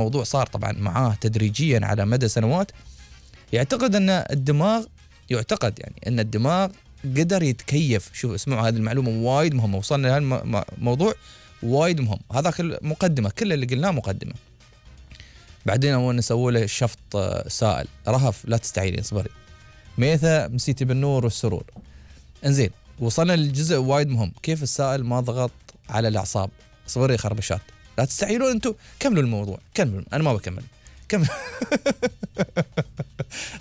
الموضوع صار طبعا معاه تدريجيا على مدى سنوات، يعتقد أن الدماغ أن الدماغ قدر يتكيف. شوف اسمعوا هذه المعلومة وايد مهمة، وصلنا لهذا الموضوع وايد مهم. هذا مقدمة، كل اللي قلناه مقدمة. بعدين أول نسوي له شفط سائل. رهف لا تستعيني اصبري. ميثا مسيتي بالنور والسرور. انزين وصلنا للجزء وايد مهم، كيف السائل ما ضغط على الأعصاب. اصبري خربشات لا تستعيلون انتم، كملوا الموضوع كملوا، أنا ما بكمل كمل.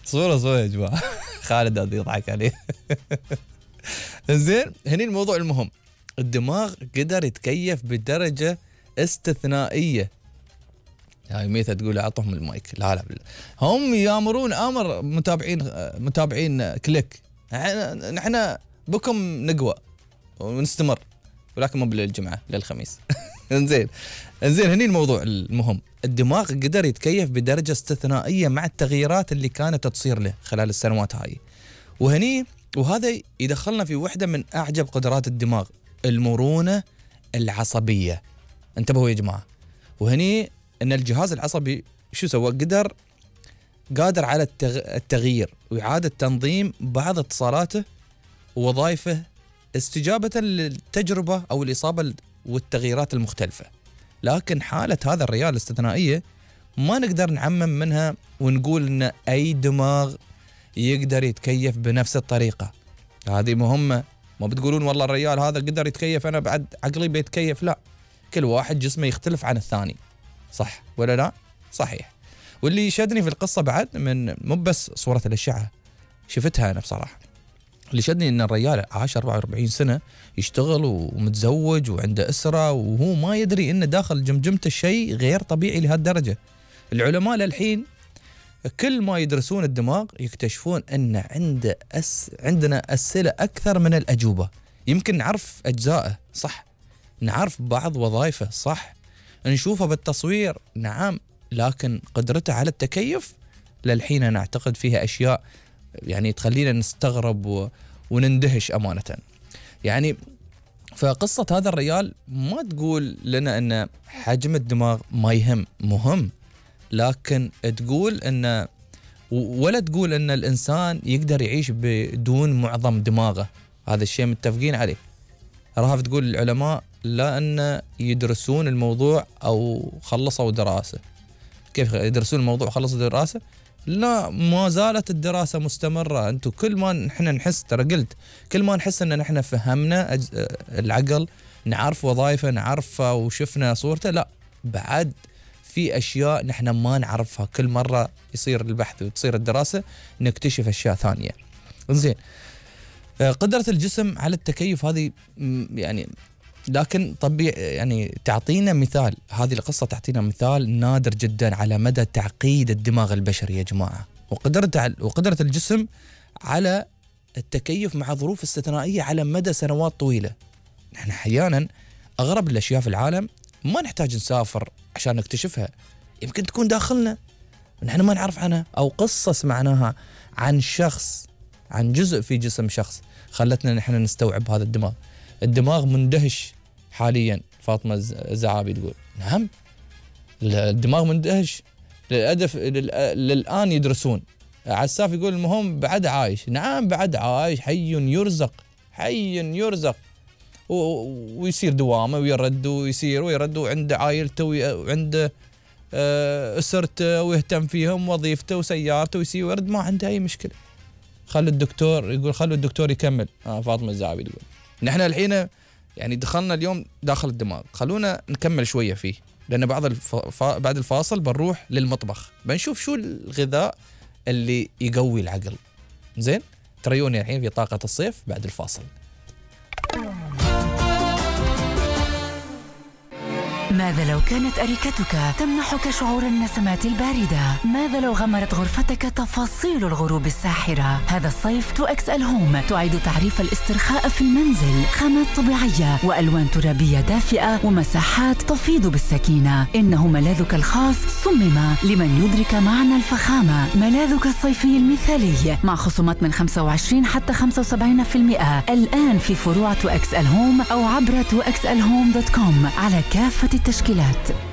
صورة يا جماعة. خالد هذا يضحك عليه. انزين هني الموضوع المهم، الدماغ قدر يتكيف بدرجة استثنائية. هاي ميثا تقول اعطهم المايك. لا بالله. هم يامرون امر متابعين كليك، نحن بكم نقوى ونستمر، ولكن مو بالجمعة للخميس. انزين هني الموضوع المهم، الدماغ قدر يتكيف بدرجة استثنائية مع التغييرات اللي كانت تصير له خلال السنوات هاي. وهذا يدخلنا في واحدة من أعجب قدرات الدماغ، المرونة العصبية. انتبهوا يا جماعة. وهني أن الجهاز العصبي شو سوى؟ قادر على التغيير وإعادة تنظيم بعض اتصالاته ووظائفه استجابة للتجربة أو الإصابة والتغييرات المختلفة. لكن حالة هذا الريال الاستثنائية ما نقدر نعمم منها ونقول أن أي دماغ يقدر يتكيف بنفس الطريقة. هذه مهمة. ما بتقولون والله الريال هذا قدر يتكيف أنا بعد عقلي بيتكيف. لا، كل واحد جسمه يختلف عن الثاني. صح ولا لا؟ صحيح. واللي يشدني في القصة بعد من مو بس صورة الأشعة شفتها أنا بصراحة، اللي شدني أن الرجال عاش 44 سنة يشتغل ومتزوج وعنده أسرة، وهو ما يدري أن داخل جمجمته شيء غير طبيعي لهالدرجة. العلماء للحين كل ما يدرسون الدماغ يكتشفون أن عندنا أسئلة أكثر من الأجوبة. يمكن نعرف أجزائه صح، نعرف بعض وظائفه صح، نشوفه بالتصوير نعم، لكن قدرته على التكيف للحين أنا أعتقد فيها أشياء يعني تخلينا نستغرب ونندهش أمانة. يعني فقصة هذا الرجال ما تقول لنا أن حجم الدماغ ما يهم، مهم، لكن تقول أن ولا تقول أن الإنسان يقدر يعيش بدون معظم دماغه. هذا الشيء متفقين عليه. رهف تقول العلماء لا أن يدرسون الموضوع أو خلصوا دراسة. كيف يدرسون الموضوع وخلصوا دراسة؟ لا، ما زالت الدراسة مستمرة. أنتوا كل ما نحن نحس، ترى قلت كل ما نحس أن نحن فهمنا العقل، نعرف وظائفه، نعرفه وشفنا صورته، لا بعد في أشياء نحن ما نعرفها. كل مرة يصير البحث وتصير الدراسة نكتشف أشياء ثانية. زين، قدرة الجسم على التكيف هذه يعني، لكن طبيعي يعني تعطينا مثال، هذه القصة تعطينا مثال نادر جدا على مدى تعقيد الدماغ البشري يا جماعة، وقدرة الجسم على التكيف مع ظروف استثنائية على مدى سنوات طويلة. نحن أحيانا أغرب الأشياء في العالم ما نحتاج نسافر عشان نكتشفها، يمكن تكون داخلنا نحن ما نعرف عنها، أو قصة سمعناها عن شخص، عن جزء في جسم شخص خلتنا نحن نستوعب هذا الدماغ. الدماغ مندهش حاليا. فاطمة الزعابي تقول نعم الدماغ مندهش للآن يدرسون. عساف يقول المهم بعد عايش. نعم بعد عايش، حي يرزق ويصير دوامه ويرد ويصير ويرد، وعنده عائلته وعنده أسرته ويهتم فيهم، وظيفته وسيارته ويصير ويرد، ما عنده أي مشكلة. خلوا الدكتور يكمل. فاطمة الزعابي تقول نحن الحين يعني دخلنا اليوم داخل الدماغ، خلونا نكمل شوية فيه، لأن بعد الفاصل بنروح للمطبخ بنشوف شو الغذاء اللي يقوي العقل. زين، تريوني الحين في طاقة الصيف بعد الفاصل. ماذا لو كانت أريكتك تمنحك شعور النسمات الباردة؟ ماذا لو غمرت غرفتك تفاصيل الغروب الساحرة؟ هذا الصيف 2XL هوم تعيد تعريف الاسترخاء في المنزل، خامات طبيعية وألوان ترابية دافئة ومساحات تفيض بالسكينة. إنه ملاذك الخاص صمم لمن يدرك معنى الفخامة، ملاذك الصيفي المثالي مع خصومات من 25 حتى 75% الآن في فروع 2XL هوم أو عبر 2XLhome.com على كافة التشكيلات.